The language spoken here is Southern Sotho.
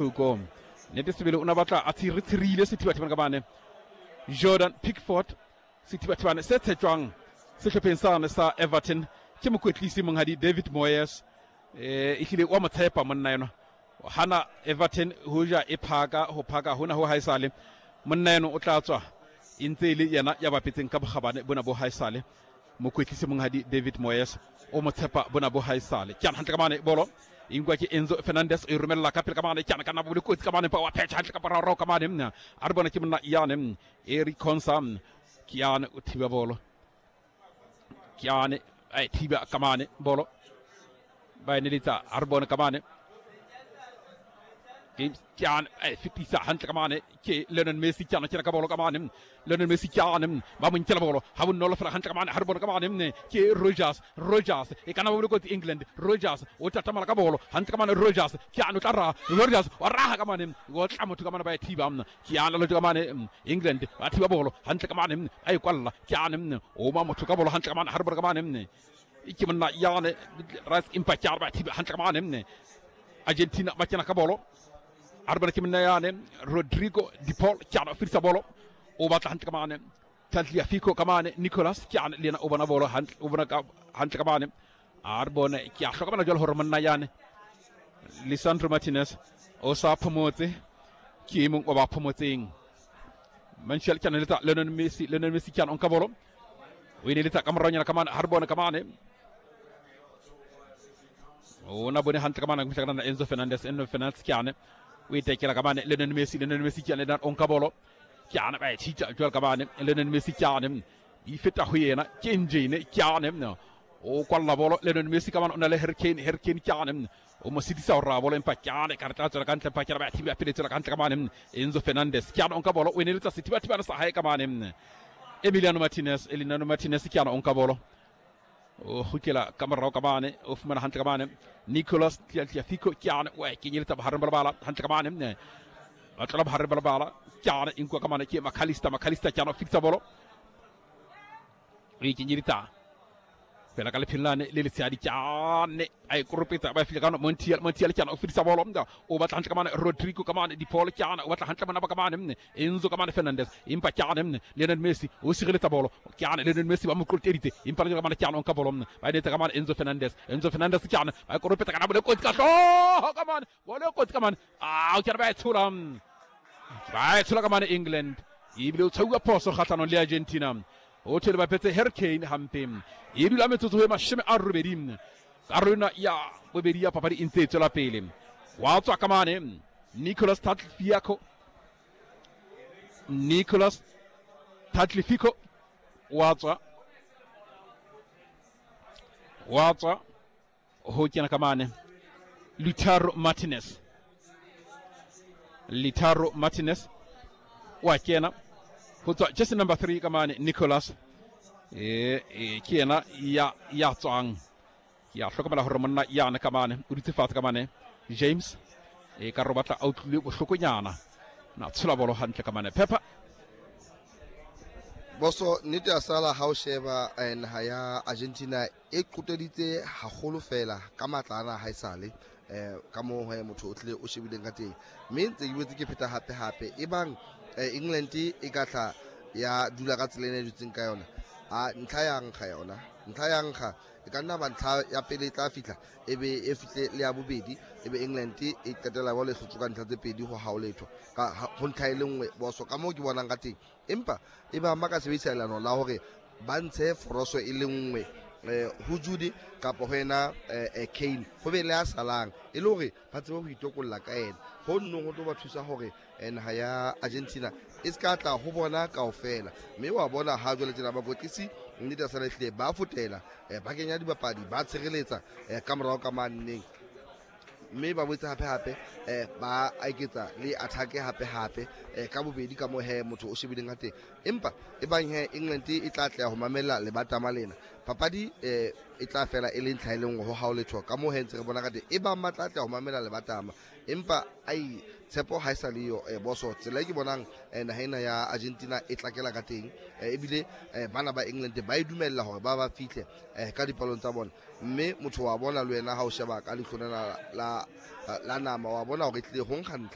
Thoko nnete sebele o na batla a tshirile sethibathibane ka mane Jordan Pickford, sethibathibane se tshetjwang sehlopheng sane sa Everton ke mokwetlisi monghadi David Moyes. Ehlile wa mo tshepa monna enwa, hana Everton hoja e phaka ho phaka hona ho haesale, monna eno o tla tswa e ntse e le yena ya bapetseng ka bokgabane bona bo haesale. Mokwetlisi monghadi David Moyes o mo tshepa bona bo haesale. Ke hantle ka mane bolo e nkwa ke Enzo Fernandez, o e romella ka pele ka mane, ke ana ka nna bo kotsi ka mane, pa wa phetha hantle ka moraorao ka mane, a re bona ke monna yane Eric Konsa, ke yane o thiba bolo, ke yane a e thiba ka mane bolo, ba e neletsa, a re bone ka mane James ke yane a e fetisa hantle ka mane ke Lionel Messi, ke yana kena ka bolo ka mane Lionel Messi, ke yane ba mo nkela bolo ha bonolo fela hantle ka mane, ha re bone ka mane ke Rogers, Rogers e kana ba bole kotsi England, Rogers o tatamala ka bolo hantle ka mane, Rogers ke yane o tla raha, Rogers wa raha ka mane, o tla motho ka mane ba e thiba, ke yane lo ka mane England ba thiba bolo hantle ka mane, a e kwalla, ke yane o ma motho ka bolo hantle ka mane, ha re bone ka mane ke monna yane Rice, empa ke ba thiba hantle ka mane Argentina ba kena ka bolo, a re bona ke monna yane Rodrigo De Paul, ke ana o fetisa bolo, o batla hantle ka mane Tagliafico ka mane Nicolas, ke ana le yena o bona bolo hantle, o bona ka hantle ka mane, a re bone ke a hlokomela jwale hore monna yane Lisandro Martinez o sa phomotse, ke e mong wa ba phomotseng. Manchel ke ana letsa Lionel Messi, Lionel Messi ke ana o nka bolo, o e neletsa ka moraonyana ka mane, ha re bone ka mane o na bone hantle ka mane go na Enzo Fernandez, Enzo Fernandez ke ane o e tekela ka mane Lionel Messi, Lionel Messi ke ane o nka bolo, ke ane ba e tshitsa jwale ka mane Lionel Messi, ke ane e feta ho yena ke engine, ke ane o kwalla bolo Lionel Messi ka mane, o na le Harry Kane, Harry Kane ke ane o mo sitisa ho raha bolo, empa ke ane ka re tla tswela ka ntle, empa ke re ba thiba pele tswela ka ntle ka mane Enzo Fernandez, ke ane o nka bolo, o e neletsa sethibathibane sa hae ka mane Emiliano Martinez, Emiliano Martinez ke ane o nka bolo, o kgutlela ka morao ka mane, o fumana hantle ka mane Nicolas Tagliafico, ke ane o e kenyeletsa bohareng ba lebala hantle ka mane, ba tlola bohareng ba lebala, ke ane e nkuwa ka mane ke McAllister, McAllister ke ane o fetisa bolo, o e kenyeletsa fela ka lephelelane le letshehadi, ke ane a e koropetsa ba fihla ka Montiel, Montiel ke ane o fetisa bolo, o batla hantle ka mane Rodrigo ka mane De Paul, ke ane o batla hantle mona ba ka mane Enzo ka mane Fernandez, empa ke ane Lionel Messi o sireletsa bolo, ke ane Lionel Messi ba mo qoteditse, empa le ka mane ke ane o nka bolo, ba e netsa ka mane Enzo Fernandez, Enzo Fernandez ke ane ba e koropetsa ka na bole kotsi ka hlooho ka mane, bole kotsi ka mane, a o ke ba e tshola, ba e tshola ka mane England, ebile o tshwauwa phoso kgahlanong le Argentina, o thwele ba phetse Harry Kane hampe, e dula metsotso e 80, karolo ena ya bobedi ya papadi e ntse e tswela pele, wa tswa ka mane Nicolas Tagliafico, Nicolas Tagliafico wa tswa, wa tswa ho kena ka mane Lautaro Martinez, Lautaro Martinez wa kena ho tswa jersey number 3 ka mane Nicolas, ke yena ya tswang, ke a hlokomela hore monna yana ka mane o dutse fatshe ka mane James, e ka re batla a utlwile bohlokonyana, na tshola bolo hantle ka mane Pepper. Boso nnete ya sala ha o sheba naha ya Argentina e qoteditse haholo fela ka matla ana haesale, ka moo he motho o tlile o shebileng ka teng, mme ntse ke boetse ke pheta hape hape e bang England e ka tla ya dula ka tsela ena e dutseng ka yona, a ntlha ya nkga yona, ntlha ya nkga e ka nna ba ntlha ya pele e tla fihla, e be e fihle le ya bobedi, e be England e qetela ba le hlotse ka ntlha tse pedi ho hao letho ka ho ntlha e le nngwe. Boso ka moo ke bonang ka teng, empa e ba ba ka sebedisa leano la hore ba ntshe foroso e le nngwe ho Jude kapa ho yena Kane, ho be le a salang e le hore ba tsebe ho itokolla ka yena, ho nnong ho tlo ba thusa hore naha ya Argentina e se ka tla ho bona kaofela. Mme wa bona ha jwale tjena bakwetlisi nnete ya sala ehlile ba fotela, ba kenya dibapadi, ba tshireletsa ka morao ka maneng, mme ba boetse hape hape ba eketsa le attack hape hape ka bobedi ka moo he motho o shebileng ka teng. Empa e bang he England e tla tleha ho mamella lebatama lena, papadi e tla fela e le ntlha e le nngwe ho hao letho ka moo he ntse re bona ka teng, e bang ba tla tleha ho mamela lebatama, empa ai tshepo ha e sa le yo. Boso tsela e ke bonang naha ena ya Argentina e tlakela ka teng, ebile bana ba England ba e dumella hore ba ba fihle ka dipalong tsa bona, mme motho wa bona le wena ha o sheba ka leihlo lena la nama wa bona hore e tlile ho nkga ntlha.